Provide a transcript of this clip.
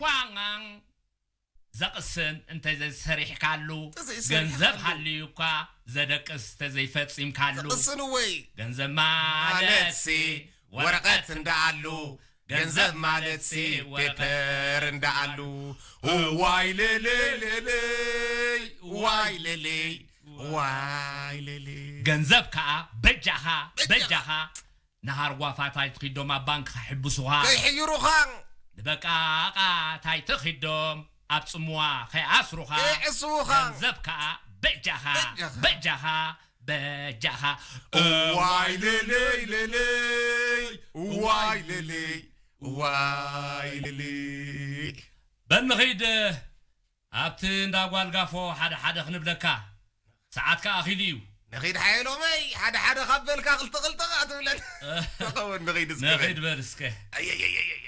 ኳንጋን ዘቕስን እንተዘይሰሪሕካሉ፣ ተዘይሰሪሕካሉ። ገንዘብ ሃልዩ እኳ ዘደቅስ ተዘይፈጺምካሉ። ተቕስን ወይ? ገንዘብ ማለት ሲ ወረቐት ወረቐት እንዳኣሉ፣ ገንዘብ ገንዘብ ማለት ማለት ሲ ሲ ወረቐት ፔፐር እንዳኣሉ። ዋይ ለለይ ለለይ፣ ዋይ ለለይ፣ ዋይ ለለይ። ገንዘብ ከኣ በጃኻ፣ በጃኻ። በጃኻ። ንሃርጓፋት ኣይትኺዶም ኣብ ባንክ ከሕብሱኻ። ከይሕይሩኻ። ንበቃቓት ኣይትኺዶም ኣብ ጽምዋ ከይኣስሩኻ። ከይዕስዉኻ። ገንዘብ ከኣ በጃኻ፣ በጃኻ። በጃኻ፣ በጃኻ። ዋይ ለለይ ለለይ፣ ዋይ ለለይ፣ ዋይ ለለይ። በል ንኺድ ኣብቲ እንዳ ጓል ጋፎ ሓደ ሓደ ክንብለካ። ሰዓትካ ኣኺሉ እዩ። ንኺድ ሓየሎመይ፣ ሓደ ሓደ ካብ በልካ ክልተ ክልተ ከኣ ትብለን። ተኸውን ንኺድ እስከ በል። ንኺድ በል እስከ። ኣየየየየ።